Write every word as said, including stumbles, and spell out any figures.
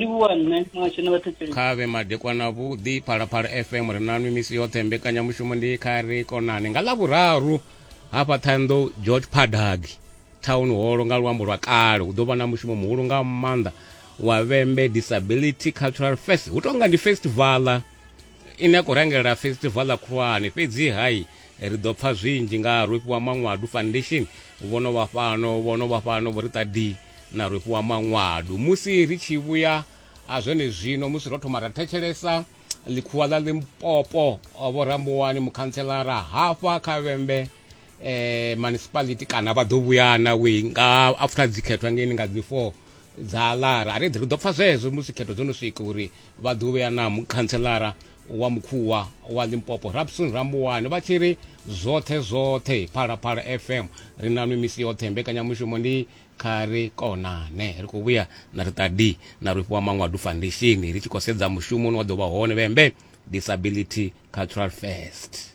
Livhuwa nṋe muhasho na vhathetshelesi. Kha vhe madekwana vhuḓi. Phalaphala F M ri nanwi misi yoṱhe, mbekanyamushumo ndi Kha Ri Konane. Nga ḽavhuraru hafha Ṱhohoyanḓou George Phadagi Town Hall nga luambo lwa kale hu ḓo vha na mushumo muhulu nga maanḓa wa Vhembe Disability Cultural Fest. Hu tonga ndi festival ine ya khou rangela festival khulwane, fhedzi hai ri ḓo pfa zwinzhi nga Rofhiwa Maṅwadu Foundation. Vho no vha fhano, vho no vha fhano vho ri ṱadi na Rofhiwa Maṅwadu. Musi ri tshi vhuya a zwone zwino, musi ro thoma ra thetshelesa ḽikhuwa ḽa Limpopo vho Rambuwani mukhantselara hafha kha Vhembe eh, municipality, kana vha ḓo vhuyana we nga after dzikhethwa ngeni nga dzi four dza Lara. A ri ri ḓo pfa zwezwo musi khetho dzo no swika uri vha ḓo vhuya na mukhantselara wa mukhuwa wa Limpopo Rapson Rambuwani, vha tshi ri zwoṱhe zwoṱhe. Phalaphala F M ri nanwi misi yoṱhe, mbekanyamushumo ndi Kha Ri Konane. Ri khou vhuya na ri ṱadi na Rofhiwa Maṅwadu Foundation ri tshi khou sedza mushumo une wa ḓo vha hone Vhembe Disability Cultural Fest.